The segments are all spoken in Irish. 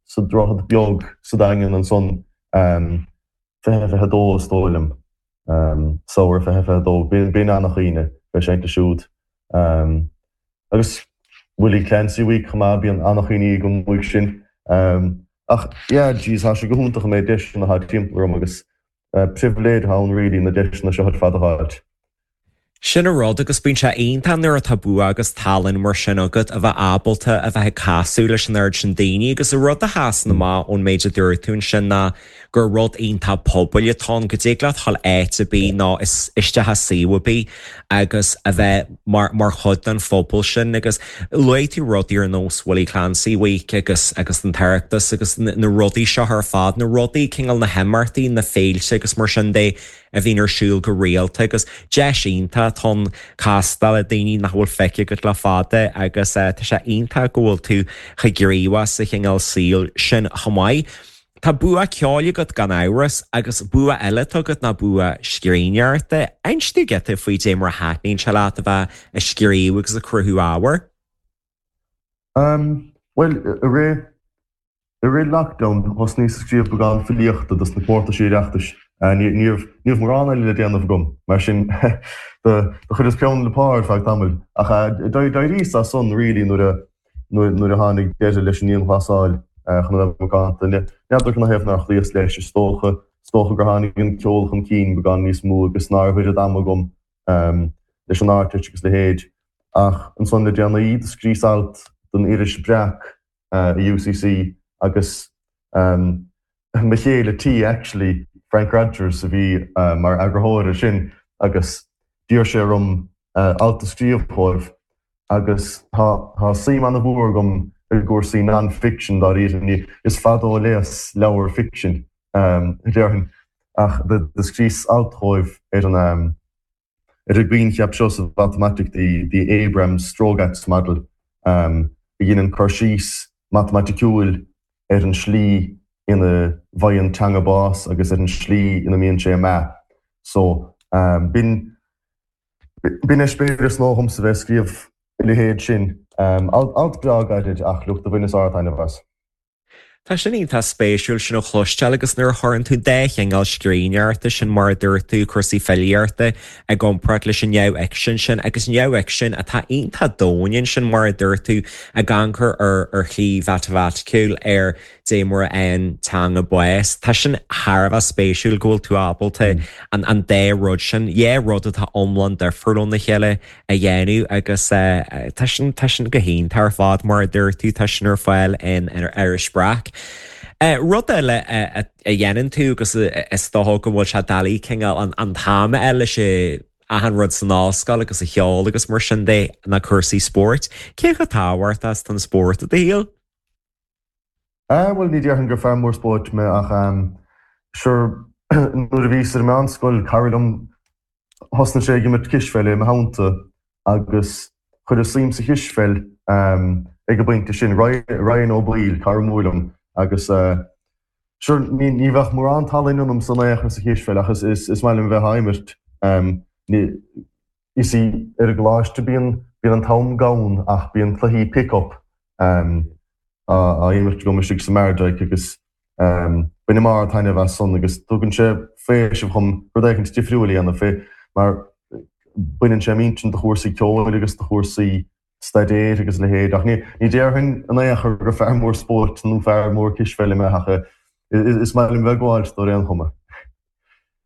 sa Droichead Beag sa Daingean ansan, 2022 is dóigh liom, samhradh 2022, b'in an-chuimhne bheith ag seinnt leo siúd. Agus Willie Clancy Week chomh maith, bíonn an-chuimhní agam uaidh sin. Ach yeah, jeez, tá sé go hiontach an méid deiseanna atá timpeall orm agus pribhléid atá ann really na deiseanna seo ar fad a fháilt. Sin an rud agus bíonn sé iontach nuair atá bua agus tallann mar sin agat a bheith ábalta a bheith ag casadh leis an oiread sin daoine agus an rud a sheasann amach ón méid a dúirt tú ansin ná gur rud iontach pobail atá ann, go dtig leat dhul áit ar bith nó isteach i suíomh ar bith agus a bheith mar mar chuid den phobal sin agus luaigh tú rudaí ar nós Willie Clancy Week agus agus an tOireachtas agus na rudaí seo ar fad, na rudaí, cineál na himeachtaí, na féilte agus mar sin de a bhíonn ar siúl go rialta agus deis iontach atá ann castáil le daoine nach bhfuil feicthe agat le fada agus tá sé iontach go bhfuil tú chomh gníomhach sa chineál saoil sin chomh maith. Tá bua ceoil agat gan amhras agus bua eile atá agat ná bua scríbhneoireachta. Inis dúinn giota faoi dé mar a thaitníonn sé leat a bheith ag scríobh agus ag cruthú ábhair. Umm, bhuel, i rith, i rith lockdown thosnaíos ag scríobh beagán filíochta dos na comórtaisí Oireachtais. Ní, ní raibh, ní raibh mórán eile le déanamh agam, mar sin do, do chuireas peann le pár ar feadh tamaill. Ach d'éiríos as san really nuair a, nuair a tháinig deireadh leis an ndianghlasáil chun a bheith macánta. N'fheadar canathaobh nár chloíos leis, is dócha, is dócha gur tháinig an ceol chun cinn beagán níos mó agus ná raibh oiread ama agam leis an Ardteist agus a leithéid. Ach ansan le déanaí, do scríos alt don iris Breac i UCC agus mo chéile tí actually, Frank Rodgers, a bhí mar eagarthóir air sin agus d'iarr sé orm alt a scríobh dhóibh agus tá tá suim an-mhór agam i gcúrsaí non-fiction dáiríre. Is fada ó léas leabhar ficsin, déarfainn, ach do scríos alt dhóibh ar an ar an gcoincheap seo sa mhatamaitic, the the Abrams-Strogatz model, a dheineann cur síos matamaiticiúil ar an slí ina bhfaigheann teanga bás agus ar an slí ina mbíonn sé ag meath. So, b'in B'in eispéireas nua dhomsa bheith ag scríobh a leithéid sin. Alt breá gairid ach look, do bhaineas ard-taitneamh as. Tá sin iontach spéisiúil sin a chloisteáil agus nuair a chuireann tú dá chineál scríbhneoireachta sin mar a dúirt tú, cúrsaí filíochta i gcomparáid leis an neamhfhicsean sin agus neamhfhicsean atá iontach domhain ansin mar a dúirt tú ag amharc ar ar shlí mhatamaiticiúil ar dé mar a fhaigheann teanga bás. Tá sin thar a bheith spéisiúil go bhfuil tú ábalta an an dá rud sin, dhá rud atá iomlán difriúil óna chéile a dhéanamh agus tá sin tá sin go hiontach ar fad mar a dúirt tú, tá sin ar fáil in Iris Breac. Rud eile a dhéanann tú agus is dócha go bhfuil sé doiligh cineál an an t-am a fháil leis achan rud san ollscoil agus an cheol agus mar sin de ná cúrsaí spóirt. Cé chomh tábhachtach is atá an spórt i do shaol? Ah, bhuel, ní déarfainn gur fear mór spóirt mé ach ehm, sure, nuair a bhíos ar an meánscoil, cara liom, thosnaigh sé ag imirt cispheile i mo theannta agus chuireas suim sa chispheil ehm, ag an bpointe sin, Ryan Ó Baoill, cara mór liom agus eh, sure, ní, ní bheadh mórán talainn ionamsa in aon chor sa chispheil ach is, is, is maith liom bheith á imirt ehm, ní, you see, ar an gcoláiste bíonn, bíonn an t-am gann ach bíonn cluichí pick-up ehm, á imirt agam istigh sa Mardyke agus bainim ard-taitneamh as san agus tugann sé faoiseamh dhom rud éicint difriúil a dhéanamh fé mar baineann sé m'intinn de chúrsaí ceoil agus de chúrsaí staidéir agus a leithéid ach ní déarfainn in aon chor gur fear mór spóirt nó fear mór cispheile mé ach is maith liom bheith ag gabháil dó ar aon chuma.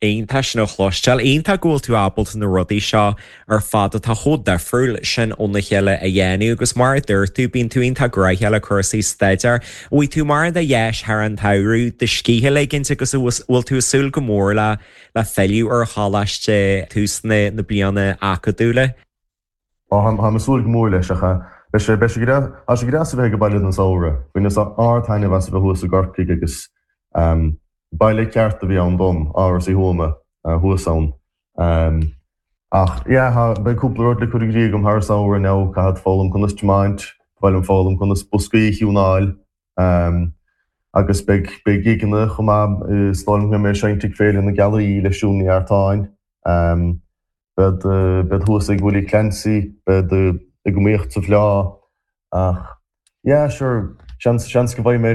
Iontach sin a chloisteáil. Iontach go bhfuil tú ábalta na rudaí seo ar fad atá chomh difriúil sin óna chéile a dhéanamh agus mar a dúirt tú, bíonn tú iontach gnoitheach le cúrsaí staidéir. An bhfaighidh tú mórán de dheis thar an tsamhradh do scíth a ligint agus an bhfuil tú ag súil go mór le le filleadh ar choláiste tús na bliana acadúla? Á, táim ag súil go mór leis ach beidh sé, beidh sé go deas, tá sé go deas a bheith ag baile don samhradh. Bhaineas ard-taitneamh as a bheith thuas i gCorcaigh agus Baile ceart a bhí ann dom, Áras Uí Thuama thuas ann. Ach yeah, beidh cúpla rud le cur i gcrích agam thar an samhradh now, caithfead foghlaim conas tiomáint, ba mhaith liom foghlaim conas boscaí a thiúnáil, agus beidh beidh gigeanna chomh maith, is dóigh liom go mbeidh mé ag seinnt ag Féile na Gealaí le Siún Ní Artáin, bead bead thuas ag Willie Clancy, bead ag iomaíocht sa bhFleá, ach yeah, sure, seans seans go bhfaighidh mé.